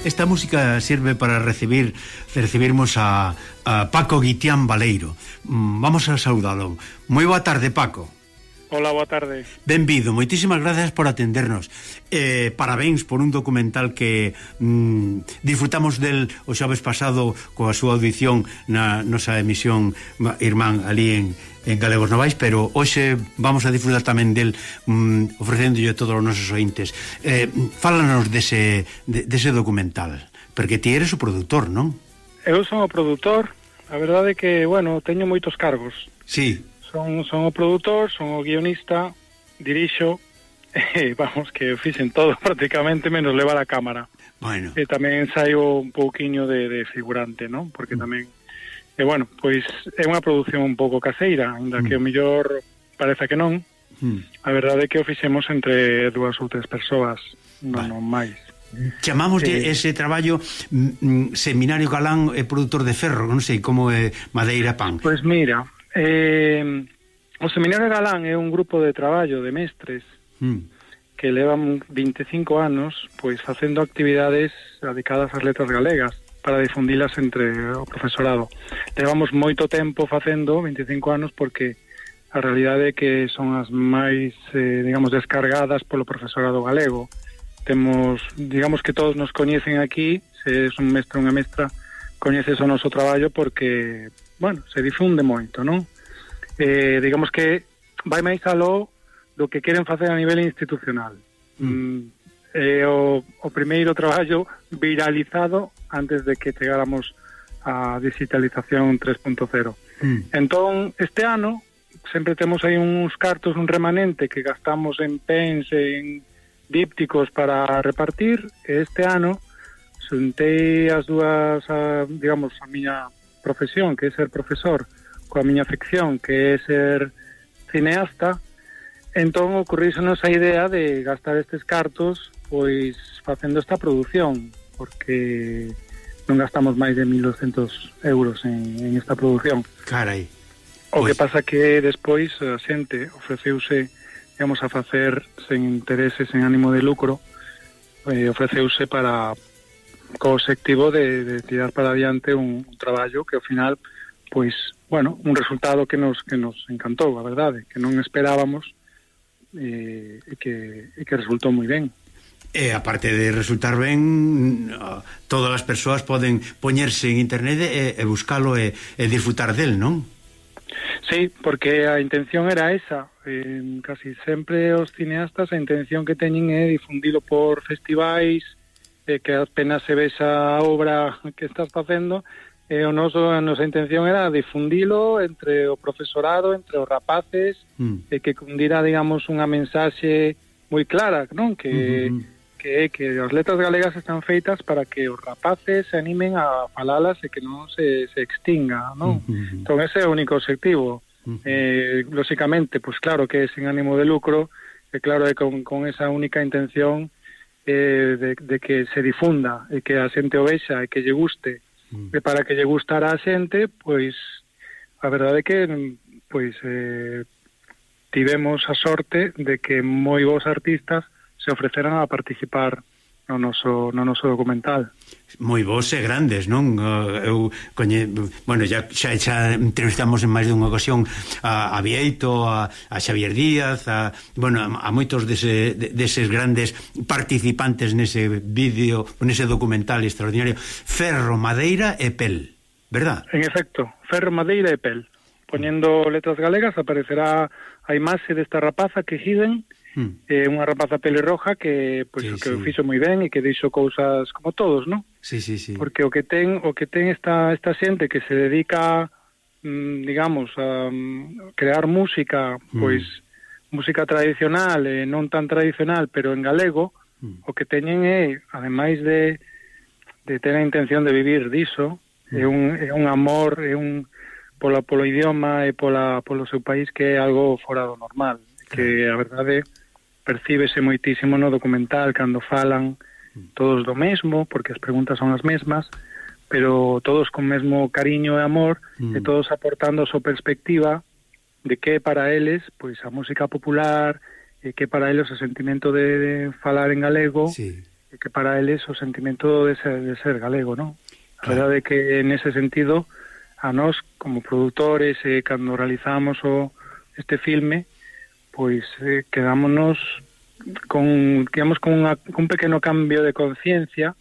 esta música sirve para recibirmos a Paco Guitián Baleiro. Vamos a saudalo. Moi boa tarde, Paco. Hola, boa tarde. Benvido, moitísimas gracias por atendernos. Parabéns por un documental que disfrutamos del o xoves pasado coa súa audición na nosa emisión irmán ali en Galegos Novais, pero hoxe vamos a disfrutar tamén del ofrecéndolle a todos os nosos ointes. Fálanos dese documental, porque ti eres o produtor, non? Eu son o produtor, a verdade é que, bueno, teño moitos cargos. Sí. Son o produtor, son o guionista, dirixo, vamos, que fixen todo prácticamente menos levar a cámara. Bueno. E tamén saio un pouquiño de figurante, non? Porque tamén, bueno, pois é unha produción un pouco caseira, ainda que o mellor parece que non. A verdade é que o fixemos entre 2 ou 3 persoas, non máis. Chamamos ese traballo Seminario Galán e produtor de ferro, non sei como é Madeira Pan. Pois mira, o Seminario Galán é un grupo de traballo de mestres que levan 25 anos pois facendo actividades dedicadas ás letras galegas para difundilas entre o profesorado. Levamos moito tempo facendo, 25 anos, porque a realidade é que son as máis, digamos, descargadas polo profesorado galego. Temos, digamos que todos nos coñecen aquí, se és un mestre ou unha mestra, coñeces o noso traballo porque, bueno, se difunde moito, non? Digamos que vai máis aló do que queren facer a nivel institucional. O primeiro traballo viralizado antes de que chegáramos a digitalización 3.0. Entón, este ano, sempre temos aí uns cartos, un remanente que gastamos en pens, en dípticos para repartir, e este ano xuntei as dúas, digamos, a miña profesión, que é ser profesor, coa miña afección, que é ser cineasta. Entón ocorrísenos a idea de gastar estes cartos pois facendo esta produción, porque non gastamos máis de 1.200 euros en esta produción. Carai. O que pasa que despois a xente ofreceuse, digamos, a facer sen intereses, sen ánimo de lucro, ofreceuse para co obxectivo de tirar para adiante un traballo que ao final, pois, bueno, un resultado que nos encantou, a verdade, que non esperábamos e que resultou moi ben. E aparte de resultar ben, todas as persoas poden poñerse en internet e buscalo e disfrutar del, non? Sí, porque a intención era esa. Casi sempre os cineastas a intención que teñen é difundilo por festivais, que apenas se vexa a obra que estás facendo, a nosa intención era difundilo entre o profesorado, entre os rapaces, que cundira, digamos, unha mensaxe moi clara, non? Que as letras galegas están feitas para que os rapaces se animen a falalas e que non se extinga, non? Entón ese é o único objetivo. Lóxicamente, pues claro que é sen ánimo de lucro, e claro que con esa única intención de que se difunda e que a xente o vexa e que lle guste, e para que lle gustara a xente, pois a verdade é que pois tivemos a sorte de que moi bons artistas se ofreceran a participar no noso documental. Moi vos e grandes, non? Eu bueno, xa entrevistamos en máis de unha ocasión a Bieito, a Xavier Díaz, a moitos deses grandes participantes nese vídeo, nese documental extraordinario. Ferro, madeira e pel, verdad? En efecto, ferro, madeira e pel. Poñendo letras galegas aparecerá a imaxe desta rapaza que Hiden, unha rapaza pelirroja que que o fixo moi ben e que deixo cousas como todos, non? Sí. Porque o que ten esta xente que se dedica, digamos, a crear música, pois música tradicional e non tan tradicional, pero en galego, o que teñen é, ademais de ter a intención de vivir diso, é un amor, polo idioma e polo seu país que é algo fora do normal, que a verdade percíbese moitísimo no documental cando falan todos do mesmo, porque as preguntas son as mesmas, pero todos con mesmo cariño e amor, e todos aportando a súa perspectiva de que para eles, pois a música popular, e que para eles o sentimento de falar en galego, que para eles o sentimento de ser galego, non? A verdade é que nese sentido a nós como produtores cando realizamos este filme pois quedámonos con un pequeno cambio de conciencia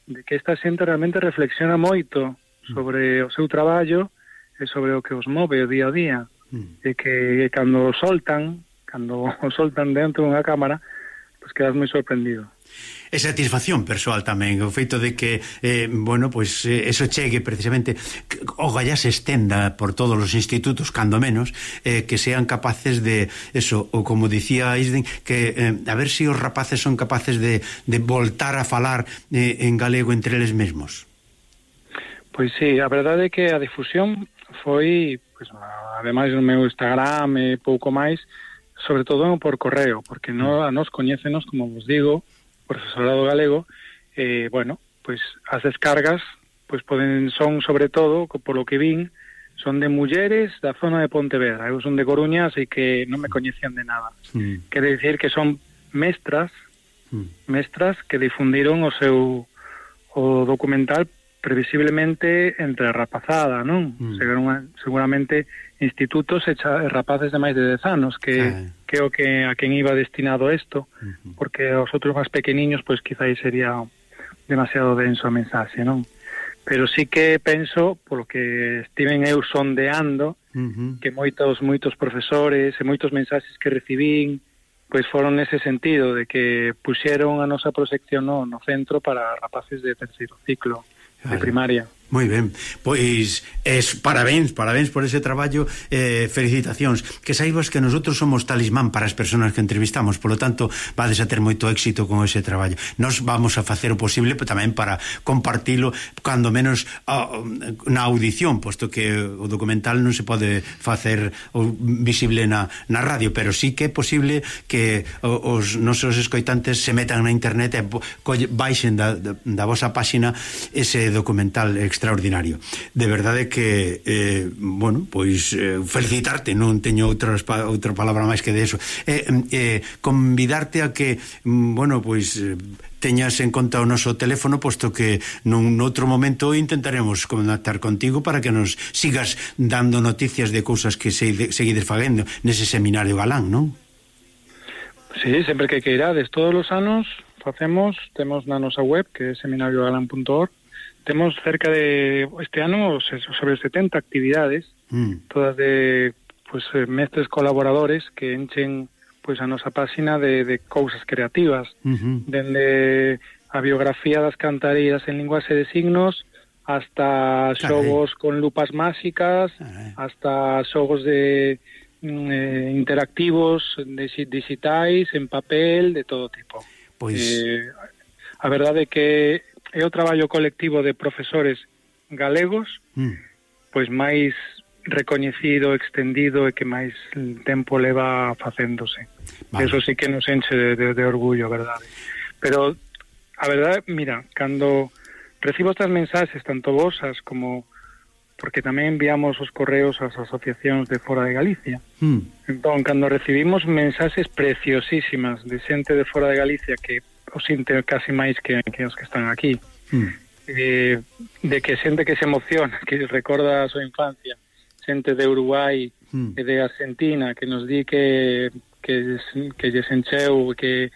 de que esta xente realmente reflexiona moito sobre o seu traballo e sobre o que os move o día a día e que cando o soltan dentro dunha cámara pois quedas moi sorprendido. E satisfacción persoal tamén, o feito de que bueno, pois eso chegue precisamente, o gallá se estenda por todos os institutos, cando menos que sean capaces de eso, ou como dicía Isden, que a ver se os rapaces son capaces de voltar a falar en galego entre eles mesmos. Pois sí, a verdade é que a difusión foi, pois, ademais no meu Instagram e pouco máis, sobre todo por correo, porque a nos coñécenos, como vos digo, profesorado galego, bueno, pois as descargas pois son sobre todo, por lo que vin, son de mulleres da zona de Pontevedra. Eu son de Coruña, así que non me coñecían de nada. Quere dicir que son mestras que difundiron o documental previsiblemente entre a rapazada, non? Seguramente institutos e rapaces de máis de 10 anos que o que a quen iba destinado isto, porque os outros máis pequeniños pois quizáis sería demasiado denso a mensaxe, non? Pero sí que penso, polo que estiven eu sondeando, que moitos profesores e moitos mensaxes que recibín pois foron nese sentido, de que puxeron a nosa proxección no centro para rapaces de terceiro ciclo de primaria. Moi ben, pois parabéns por ese traballo, felicitacións. Que saibas que nosotros somos talismán para as persoas que entrevistamos, polo tanto vades a ter moito éxito con ese traballo. Nos vamos a facer o posible tamén para compartilo, cando menos na audición, posto que o documental non se pode facer visible na radio, pero sí que é posible que os nosos escoitantes se metan na internet e baixen da vosa páxina ese documental extraordinario. De verdade que bueno, pois felicitarte, non teño outra palabra máis que de eso. Convidarte a que bueno, pois teñas en conta o noso teléfono, posto que nun outro momento intentaremos contactar contigo para que nos sigas dando noticias de cousas que seguides facendo nese seminario galán, non? Sí, sempre que queirades, todos os anos temos na nosa web, que é seminariogalán.org. Temos cerca de, este ano, sobre 70 actividades, todas de pues, mestres colaboradores que enchen pues, a nosa páxina de cousas creativas, dende a biografía das cantareiras en linguaxe de signos, hasta xogos con lupas máxicas, hasta xogos de interactivos, digitais, en papel, de todo tipo. Pois... a verdade é que é o traballo colectivo de profesores galegos pois máis recoñecido, extendido e que máis tempo leva facéndose. Eso sí que nos enche de orgullo, verdade. Pero a verdade, mira, cando recibo estas mensaxes, tanto vosas como porque tamén enviamos os correos ás asociacións de fora de Galicia. Entón, cando recibimos mensaxes preciosísimas de xente de fora de Galicia que os sinte casi máis que os que están aquí, de que xente que se emociona, que recorda a súa infancia, xente de Uruguai e de Argentina que nos di que lles encheu, que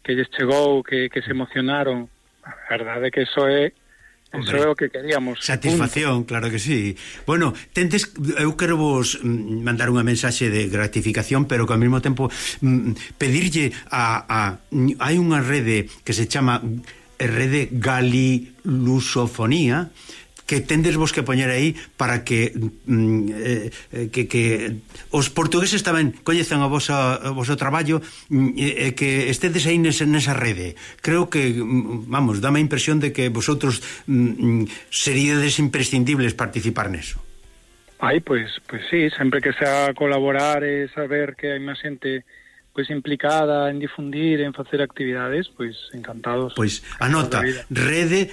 lles chegou, que se emocionaron. A verdade é que eso é o que queríamos. Satisfacción, claro que sí. Bueno, eu quero vos mandar unha mensaxe de gratificación, pero que ao mesmo tempo pedirlle hai unha rede que se chama Rede Galilusofonía, que tendes vos que poñer aí para que os portugueses tamén coñezan o voso traballo e que estedes aí nesa rede. Creo que, vamos, dame a impresión de que vosotros seríades imprescindibles participar neso. Pois sí, sempre que sea colaborar e saber que hai máis xente pois implicada en difundir, en facer actividades, pois encantados. Pois anota, Rede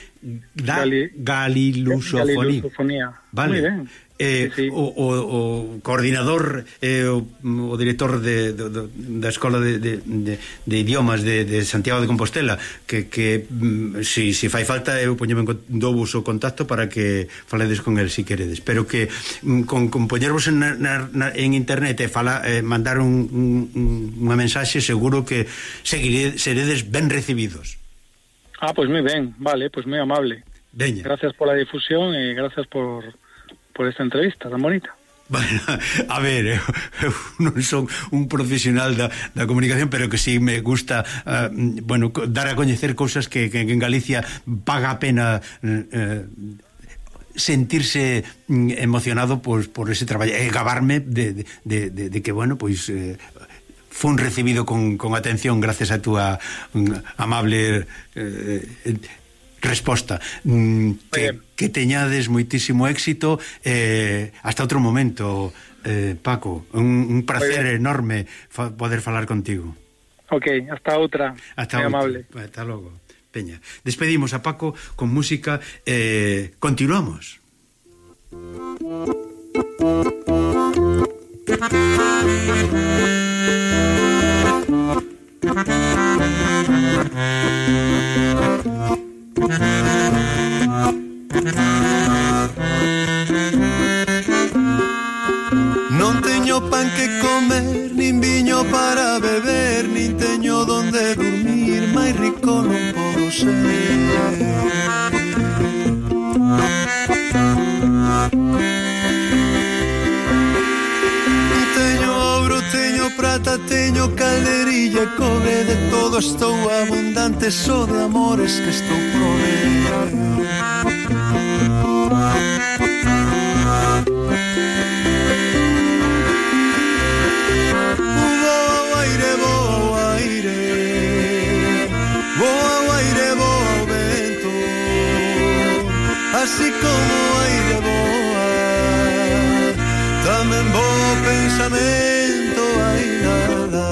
Galilusofonía. Galilusofonía. Vale. Muy ben. Sí. O coordinador, o director da Escola de Idiomas de Santiago de Compostela, que si fai falta eu poñeme dovos o contacto para que faledes con el si queredes, pero que con poñervos en internet e mandar unha mensaxe, seguro que seredes ben recibidos. Pues moi ben, vale, pues moi amable. Veña. Gracias por la difusión e gracias por esta entrevista tan bonita. Bueno, a ver, eu non son un profesional da comunicación, pero que sí me gusta dar a coñecer cousas que en Galicia paga a pena sentirse emocionado por ese traballo e gabarme de que, bueno, pois fun recibido con atención gracias a túa amable resposta. Que teñades moitísimo éxito, hasta outro momento, Paco, un placer enorme poder falar contigo. Ok, hasta outra. Hasta outra. Amable. Hasta logo, Peña. Despedimos a Paco con música, continuamos. Non teño pan que comer, nin viño para beber, nin teño donde dormir, máis rico non podo ser. Teño ouro, teño prata, teño calderilla, cobre, de todo estou abundante, só de amores que estou prover. Así como aire boa, tamén bo pensamento hai nada.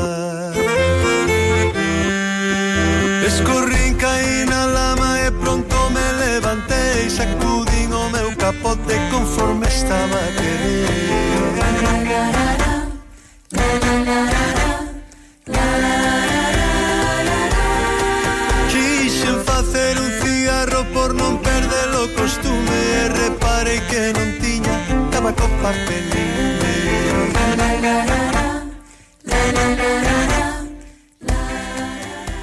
Escorrín, caí na lama e pronto me levantei, sacudín o meu capote conforme estaba a querer. Quixen facer un cigarro por non perder o costume e reparei que non tiña tabaco papelín.